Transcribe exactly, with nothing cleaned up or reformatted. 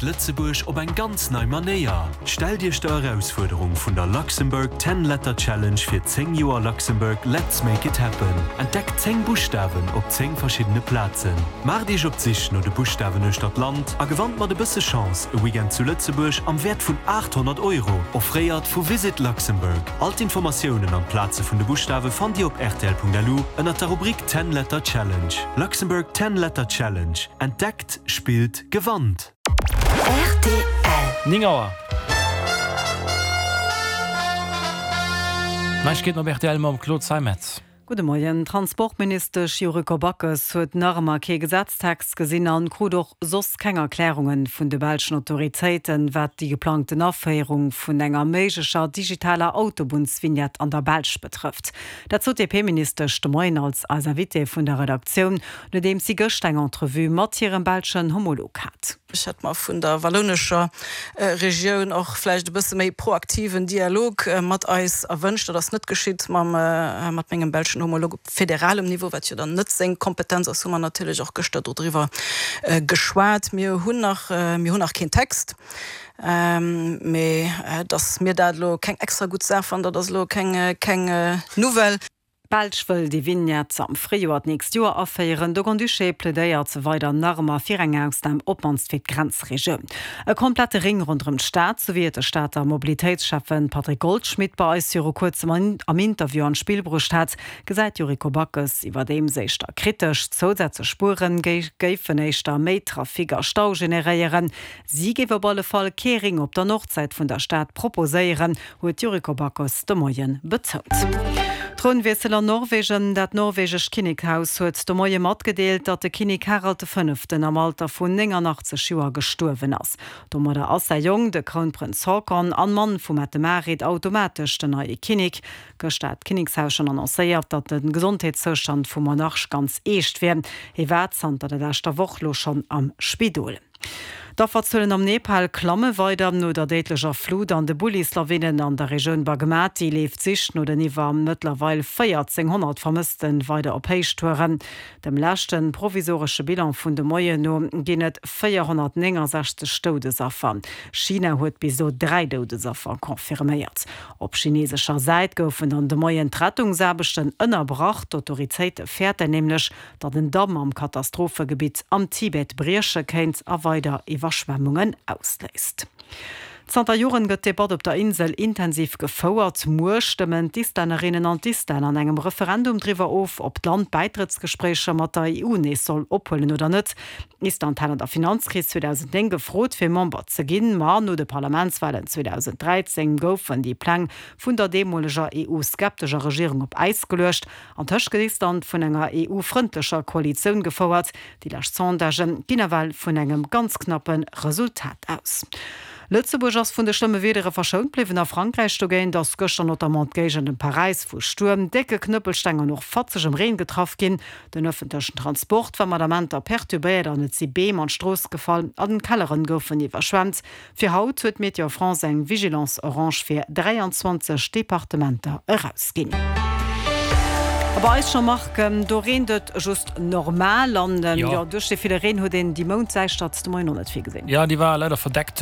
Entdeckt Lëtzebuerg op eng ganz nei Manéier. Stellt Iech der Erausfuerderung vun der Luxembourg Ten Letter Challenge fir zéng Joer Luxembourg Let's Make It Happen. Entdeckt zéng Buschtawen op zéng verschiddene Plazen. Maacht Iech op d'Sich no de Buschtawen uechter d'Land a gewannt mat e bësse Chance e Weekend zu Lëtzebuerg am Wäert vun aacht honnert Euro, offréiert vu Visit Luxembourg. All d'Informatiounen an d'Plaze vun de Buschtawe fannt Dir op R T L Punkt L U ënner der Rubrik Ten Letter Challenge. Luxembourg Ten Letter Challenge. Entdeckt, spillt, gewannt. R T L. néng Auer. Neiegkeeten op R T L mam Claude Zeimetz. Gudde Moien. Transportministesch Yuriko Backes huet nach ëmmer kee Gesetztext gesinn an krut och soss keng Erklärungen vun de belschen Autoritéiten, wat déi geplangten Aféierung vun enger méiglecher digitaler Autobunnsvignette an der Belsch betrëfft. Dat sot d'D P-Ministesch de Moien als eis Invitée vun der Redaktioun, nodeems si gëschter eng Entrevue mat hirem belschen Homolog hat. Ech hätt mer vun der wallounescher Regioun och vläicht e bësse méi proaktiven Dialog mat eis erwënscht. Dat ass net geschitt. Mam mat mengem belschen Homolog op federalem Niveau, wat jo dann net seng Kompetenz ass, hu mer natierlech och gëschter doriwwer geschwat. Mir hunn nach mir hunn nach keen Text, mee dass mir dat elo keng extra gutt Saach fannen, dat ass elo keng keng Nouvelle. D'Belsch wëll déi Vignette am Fréijoer d'nächst Joer aféieren. De Grand-Duché plädéiert weider nach ëmmer fir eng Ausnam, op d'mannst fir d'Grenzregioun. E komplette Ring ronderëm d'Stad, sou wéi et de Stater Mobilitéitsschäffen Patrick Goldschmidt bei eis viru kuerzem am Interview an d'Spill bruecht hat, gesäit d'Yuriko Backes iwwerdeems éischter kritesch. Zousätzlech Spuere géifen éischter méi Trafic a Stau generéieren. Si géif op alle Fall kee Ring op der Nordsäit vun der Stad proposéieren, huet d'Yuriko Backes de Moien betount. Trounwiessel an Norwegen. Dat norwegescht Kinnekshaus huet de Moie matgedeelt, datt de Kinnek Harald de Fënneften am Alter vun nénganaachtzeg Joer gestuerwen ass. Domadder ass säi Jong, de Krounprënz Haakon an Mann vum Mette-Marit, automatesch den neie Kinnek. Gëschter hat d'Kinnekshaus schonn annoncéiert, datt de Gesondheetszoustand vum Monarch ganz eescht wier. Hie war zanter der leschter Woch lo schonn am Spidol. D'Afferzuelen am Nepal klamme weider. No der déidlecher Flut an de Bullislawinen an der Regioun Bagmati leeft d'Sich no den iwwer mëttlerweil véierzénghonnert Vermësste weider op Héichtouren. Dem leschte provisoresche Bilan vun de Moien no ginn et véierhonnertnéngensechzeg Doudesaffer. China huet bis elo dräi Doudesaffer confirméiert. Op chinesescher Säit goufen dann de Moien d'Rettungsaarbechten ënnerbrach. D'Autoritéite fäerten nämlech, datt en Damm am Katastrophegebitt am Tibet brieche kéint a weider Iwwerschwemmungen ausléist. Zanter Joren gëtt d'Debatt op der Insel intensiv gefouert. Muer stëmmen d'Islännerinnen an d'Islänner an engem Referendum driwwer of, ob d'Land Bäitrëttsgespréicher mat der E U nees soll ophuelen oder net. Island hat an der Finanzkris zweedausendnéng gefrot, fir Member ze ginn, ma no de Parlamentswalen zweedausendräizéng goufen déi Pläng vun der deemoleger E U-skeptescher Regierung op Äis geluecht. Antëscht gëtt Island vun enger E U-frëndlecher Koalitioun gefouert. Déi lescht Sondagë ginn ewell vun engem ganz knappe Resultat aus. Lëtzebuerg ass vun de schlëmme Wiedere verschount bliwwen. A Frankräich dogéint ass gëschter notamment d'Géigend ëm Paräis vu Stuerm, décke Knëppelsteng an och fatzegem Reen getraff ginn. Den ëffentlechen Transport war mat Amenter perturbéiert an et si Beem an d'Strooss gefall an Kelleren goufen iwwerschwemmt. Fir haut huet Météo France eng Vigilance orange fir dräianzwanzeg Departementer erausginn. A bei eis scho, Marc, do reent et just normal an jo, duerch de ville Reen huet een déi Moundsäischtert de Moien och net vill gesinn. Jo, déi war leider verdeckt.